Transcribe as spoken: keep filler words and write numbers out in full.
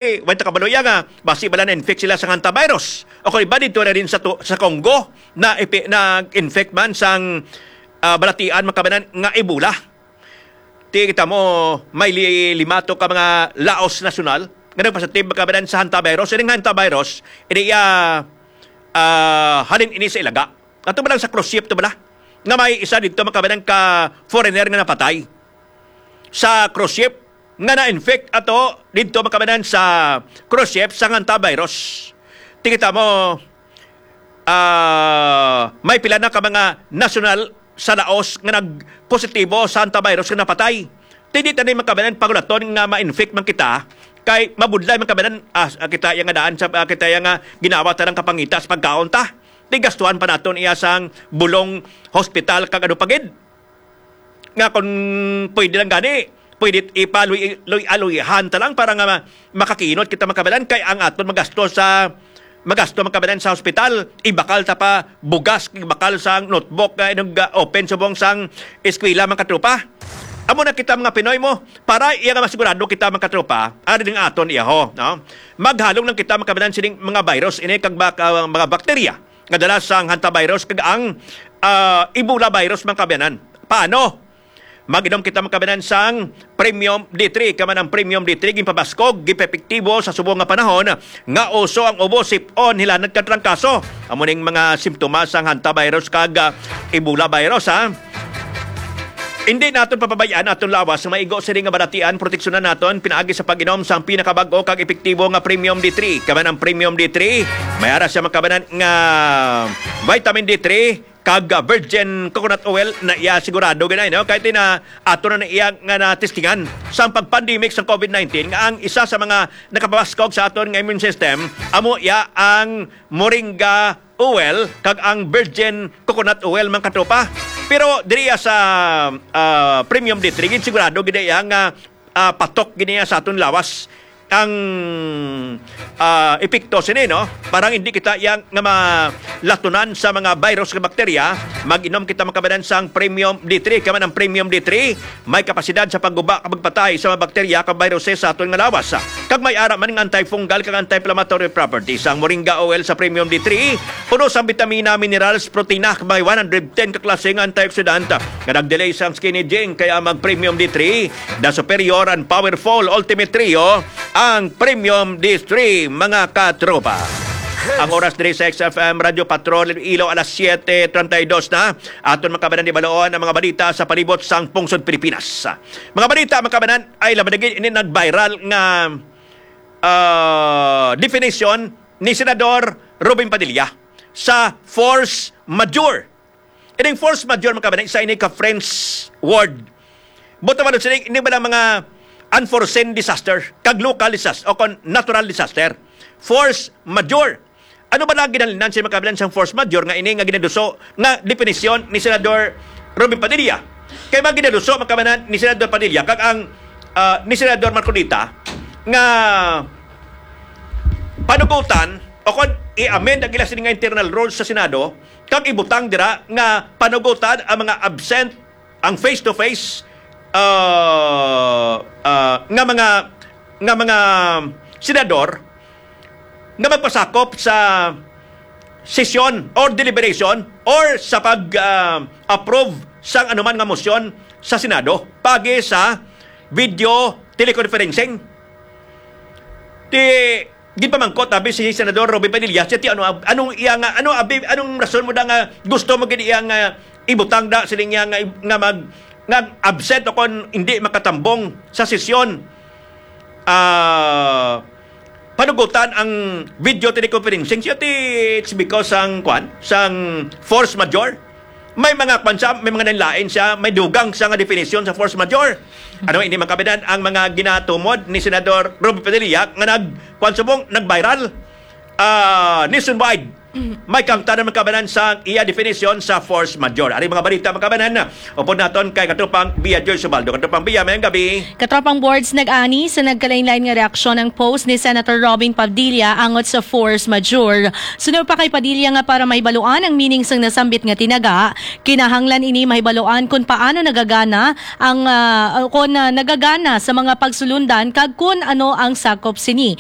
Way ta kabalo iya nga basi bala na-infect sila sa hantavirus. O kung iba dito na rin sa, tu- sa Congo na ipi- nag-infect man sang, ah, balatian, mga kababayan, nga Ebola. Ti kita mo, may li- lima to ka mga laos nasyonal nga nagpositive, mga kababayan, sa hantavirus. Ining hantavirus, ini iya, ah, halin ini sa ilaga. Ato ba lang sa cruise ship to bala? Nga may isa dito, mga kababayan, ka foreigner nga napatay sa cruise ship nga na-infect ato dito, mga kababayan, sa cruise ship sa hantavirus. Ti kita mo, ah, may pila na ka mga nasyonal sa Laos nga nagpositibo sa hantavirus nga napatay. Ti di ta ni, mga kababayan, pagulaton nga ma-infect man kita, kay mabudlay, mga kababayan, ah, kita iya nga daan sa, ah, kita iya nga ginawa ta ng kapangita sa pagkaon ta. Ti gastuhan pa naton iya sang bulong hospital kag ano pa gid. Nga kung pwede lang gani, pwede ipaluy-aluyahan ta lang para nga ma- makakinot kita, mga kababayan, kay ang aton magasto sa magasto, mga kababayan, sa hospital, ibakal ta pa bugas, ibakal sang notebook nga nag-open subong sang eskwela, mga katropa. Amo na kita, mga Pinoy mo, para iya nga masigurado kita, mga katropa, ari ang aton iyaho, no? Maghalong lang kita, mga kababayan, sining mga virus ini kag bak- ah, mga bakterya nga dala sang hantavirus kag ang, ah, Ebola virus, mga kababayan. Paano? Mag-inom kita, mga kababayan, sang Premium D three. Kay man ang Premium D three ginpabaskog, ginpaepektibo sa subong nga panahon nga uso ang ubo, sip-on, hilanat kag trangkaso. Amo ning mga simptomas sang hantavirus kag, ah, Ebola virus, ha. Hindi naton papabayaan aton lawas nga maigo sini nga balatian. Proteksyonan naton pinaagi sa pag-inom sang pinakabag-o kag epektibo nga Premium D three. Kay man ang Premium D three, may ara siya, mga kababayan, nga vitamin D three kag, ah, virgin coconut oil na iya sigurado gid ay, no? Kay ti na ato na, na iya nga natistingan sang pag-pandemic sang COVID nineteen nga ang isa sa mga nakapabaskog sa aton nga immune system, amo iya ang moringa oil kag ang virgin coconut oil, mga katropa. Pero diri sa, ah, Premium D three, gid sigurado gid iya nga, ah, patok gid niya sa aton lawas ang, ah, epekto sini, no? Parang hindi kita yang nga malatunan sa mga virus nga bakterya, mag-inom kita, mga kababayan, sang Premium D three. Kay man ang Premium D three may kapasidad sa pagguba kag magpatay sa mga bakterya kag viruses sa aton nga lawas. Kag may ara man nga antifungal kag anti-inflammatory properties ang moringa oil sa Premium D three, puno sang bitamina, minerals, protina, kag may one hundred ten ka klase nga antioxidant nga nag-delay sang skin aging. Kaya mag Premium D three, the superior and powerful ultimate trio, ang Premium D three, mga katropa. Ang oras diri sa X F M Radyo Patrol Iloilo, alas siete treinta y dos na. Aton, mga kababayan, di baloon ang mga balita sa palibot sang pungsod Pilipinas. Mga balita, mga kababayan, ay laban na gid ini nag-viral nga, ah, definition ni Senador Robin Padilla sa force majeure. Ining force majeure, mga kababayan, isa ini ka French word. Buto man sini, ini ba lang mga unforeseen disaster, kag local disaster, o kon natural disaster? Force majeure. Ano ba lang ginhalinan sa, mga kababayan, sang force majeure nga ini nga ginaduso nga definisyon ni Senador Robin Padilla? Kay mga ginaduso, mga kababayan, ni Senador Padilla kag ang, ah, ni Senador Marcoleta nga panugutan o kon i-amend ang ila sini nga internal rules sa Senado kag ibutang dira nga panugutan ang mga absent, ang face-to-face, ah, ah, nga mga, nga mga senador nga magpasakop sa sesyon or deliberation or sa pag, ah, approve sang anuman nga motion sa Senado pagi sa video teleconferencing. Ti ginpamangkot abi si Senador Robin Padilla, siya ti ano, anong iya nga, ano abi, anong rason mo da nga gusto mo gid iya nga ibutang da siling iya nga, nga mag, nga absent o kon hindi makatambong sa sesyon? Ah, panugutan ang video teleconferencing siya ti, it's because sang, kwan, sang force majeure. May mga kwan siya, may mga nanlain siya, may dugang siya nga definisyon sa force majeure. Ano ini, mga kababayan, ang mga ginatumod ni Senador Robin Padilla nga nag, kwan subong, nag-viral, ah, nationwide May kamtanan, mga kabanan, sa iya definisyon sa force majeure. Ari mga balita, mga kabanan, upod naton kay Katropang Bia George Ubaldo. Katropang Bia, mayong gabi. Katropang Boards, nag-ani sa nagkalain-lain nga reaksyon ang post ni Senator Robin Padilla angot sa force majeure. Suno pa kay Padilla nga para mahibaluan ang meaning sang nasambit nga tinaga, kinahanglan ini mahibaluan kung paano nagagana ang, ah, kung, ah, nagagana sa mga pagsulundan kag kun ano ang sakop sini.